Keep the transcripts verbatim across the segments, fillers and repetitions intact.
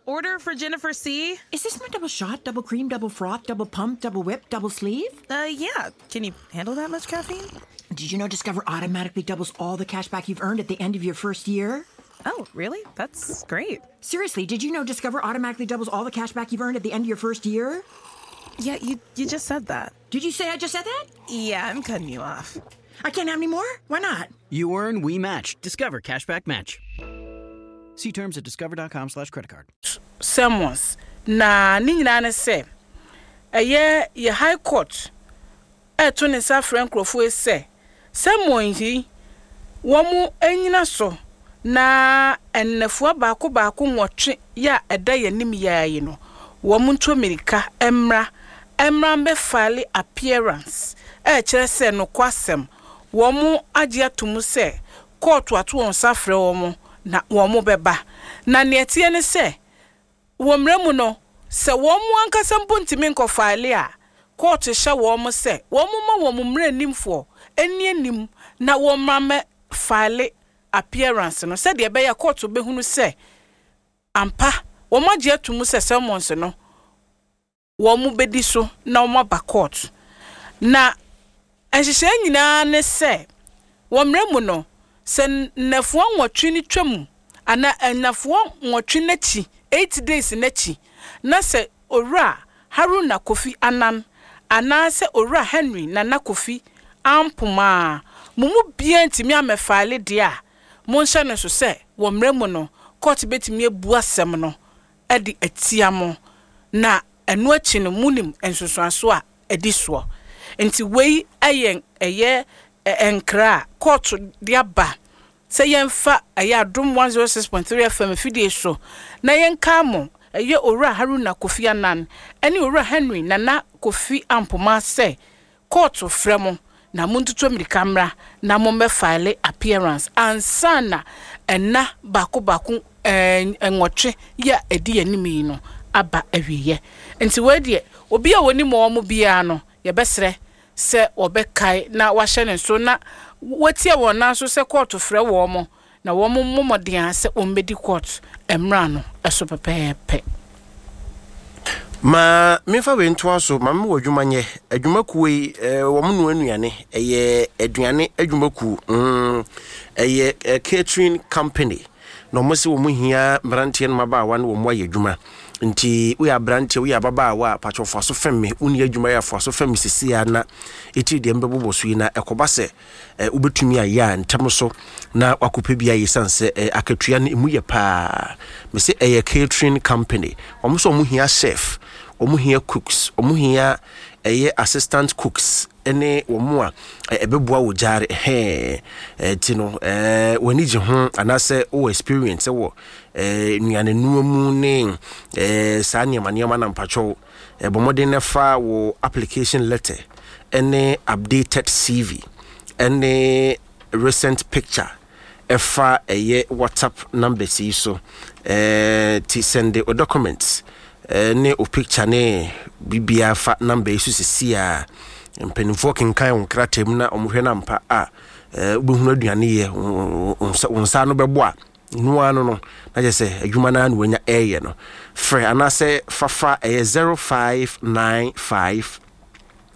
Order for Jennifer C. Is this my double shot, double cream, double froth, double pump, double whip, double sleeve? Uh, yeah. Can you handle that much caffeine? Did you know Discover automatically doubles all the cash back you've earned at the end of your first year? Oh, really? That's great. Seriously, did you know Discover automatically doubles all the cash back you've earned at the end of your first year? Yeah, you you just said that. Did you say I just said that? Yeah, I'm cutting you off. I can't have any more? Why not? You earn, we match. Discover Cashback Match. See terms at discover dot com slash credit card. Summons na ne nyinaa ne sɛ ɛyɛ yɛ High Court ɛɛto ne nsa frɛ nkurɔfoɔ yi sɛ summons yi wɔn anyina so na nnafua baako baako nwɔtwe yɛ a ɛda yɛn anim yɛa yi no, wɔn nto mmirika mmra mmra mbɛfile appearance, ɛɛkyerɛ sɛ nokwasɛm wɔn agye ato mu sɛ kɔɔto ato wɔn nsa frɛ wɔn na wɔn bɛba. Na nea ɛteɛ ne sɛ wɔ mmerɛ mu no, sɛ wɔn mu ankasa mpo ntumi nkɔfile a, kɔɔto hyɛ wɔn sɛ wɔn ma wɔn mmerɛ nimfoɔ ani anim na wɔn mmra mɛ file appearance no, sɛdeɛ ɛbɛyɛ kɔɔto bɛhunu sɛ ampa wɔn agye ato mu sɛ summons no wɔn bɛdi so na wɔn aba court. Na nhyehyɛe nyinaa ne sɛ wɔ mmerɛ mu no, sɛ nnafua nwɔtwe no twam anaa nnafua nwɔtwe n'akyi, eight days n'akyi, na sɛ Owura Haruna Kofi Anan anaasɛ Owura Henry Nana Kofi Ampoma a mo mu biara ntumi amɛfile deɛ a, monhyɛ no so sɛ wɔ mmerɛ mu no court bɛtumi abu asɛm no de atia mo, na ɛno akyi no munim nsunsuanso a ɛdi soɔ. Nti wei ɛyɛ ɛyɛ nkra a kɔɔto de aba sɛ yɛmfa ɛyɛ Adom one oh six point three F M fidie so na yɛnka mo ɛyɛ Owura Haruna Kofi Anan ɛne Owura Henry Nana Kofi Ampoma sɛ kɔɔto frɛ mo na montutu mmirika mmra na mommɛfile appearance ansa na ɛna baako baako ɛɛ nwɔtwe yɛ a ɛdi anim yi no aba awieɛ. Nti wei deɛ, obi a wɔnim wɔn biara no, yɛbɛsrɛ sɛ wɔbɛkae na wahyɛ ne nso na wɔtie wɔn nan so sɛ kɔɔto frɛ wɔn mo na wɔn mmɔ mmɔden a sɛ wɔn bɛdi kɔɔto mmra no ɛso pɛpɛɛpɛ. Ma memfa wei ntoa so ma mewɔ adwuma nyɛ adwumakuo yi eh, wɔn noa nnuane, ɛyɛ aduane adwumakuo mm, ɛyɛ eh, catering company, na wɔn sɛ wɔn hia mmeranteɛ no mmabaawa no wɔn ayɛ adwuma. Nti woyɛ aberanteɛ, woyɛ ababaawa a, patwɛ fa so fɛm me, wonni adwuma yɛ afa so fɛm me sisi a na ɛtiri deɛ mbɛbobɔ so yi na ɛkɔba sɛ eh, wobɛtumi ayɛ a ntɛm so na wakɔpɛ bi ayɛ, siane sɛ eh, akatua no ɛmu yɛ paa. Me sɛ ɛyɛ catering company. Wɔn nso wɔn hia chef, wɔn hia cooks, wɔn hia ɛyɛ assistant cooks ɛne wɔn a ɛbɛboa wɔ gyaare ɛhɛn. Ɛti no ɛɛ wɔn ani gye ho anaasɛ wɔ experience wɔ ɛɛ nnuane noa mu ne ɛɛ saa nneɛma nneɛma na mpatwɛw ɛbɔ mmɔden na fa wɔ application letter ɛne updated C V ɛne recent picture ɛfa ɛyɛ WhatsApp numbers yi so. ɛɛ ti send o documents ɛne o picture ne biribiara fa number yi so sisi a mpanimfoɔ kenkan wɔn krataa mu na wɔhwɛ no ampa a wobɛhunu aduane yɛ, wo nsa no bɛbɔ a noa no no na kyerɛ sɛ adwuma no ara na wanya ɛreyɛ no. Frɛ anaasɛ fafa ɛyɛ zero five nine five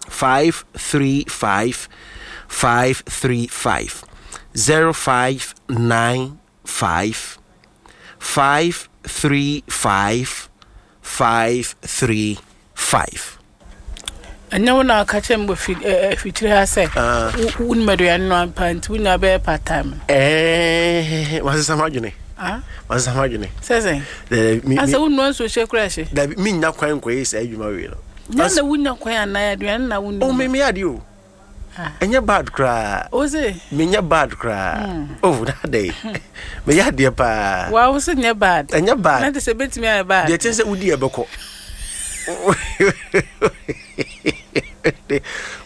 five three five five three five, zero five nine five five three five five three five. Ɛnyɛ wo na aka kyerɛ me wɔ afikyire ha sɛ wonim aduane no ampa, nti wonya bɛyɛ part time no? Ɛɛ, masesa m'adwene, masesa m'adwene. Sɛ sɛn? Asɛ wonua nsuo hyɛ kora hye. Dabi, menya kwan nkɔyɛ saa adwuma wei no. Nya na wonya kwan anaa aduane na wonim? Oh, me meyɛ adeɛ o, ɛnyɛ bad koraa. Wo se? Menyɛ bad koraa. Oh, na adɛ meyɛ adeɛ paa. Wa wo se nyɛ bad? Ɛnyɛ bad. Na te sɛ bɛtumi ayɛ bad. Deɛ kyɛn sɛ wodi ɛbɛkɔ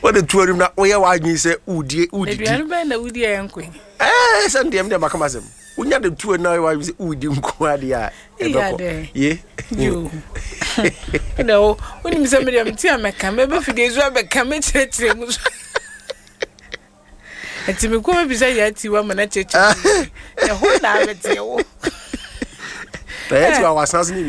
wode to anim na woyɛ w'adwene sɛ wodie wodidi. Aduane bɛn na wodi a ɛnkɔ? Ɛɛ, sɛ ndeɛ mdeɛ maka masɛm, wonya de to anim na woyɛ w'adwene sɛ wodi nko adeɛ a, ɛbɛkɔ ye. Wode wo wonim sɛ medeɛ mete a mɛka mɛbɛ fidie so abɛka mɛkyerɛkyerɛ mu so, nti mekɔ mɛbisa yɛ atiwa ma no kyerɛkyerɛ mu ɛho na abɛteɛ wo. Na yɛ tiwa wasan so ne.